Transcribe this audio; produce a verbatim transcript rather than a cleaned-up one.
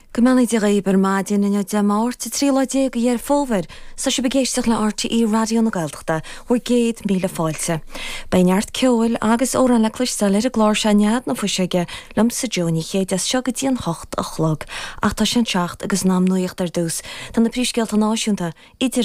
Go mbeannaí Dia dhaoibh ar maidin inniu Dé Máirt a trí lá déag de Dheireadh Fómhair, tá sibh ag éisteacht le RTÉ Raidió na Gaeltachta bhur gcéad míle fáilte. Beidh neart ceoil agus amhrán le cloisteáil ar an gclár seo Nead na Fuiseoige liomsa Jó Ní Chéide as seo go dtí an hocht a chlog, ach tá sé an seacht agus an am nuaíocht ar dtús. Tá na príomhscéalta náisiúnta idir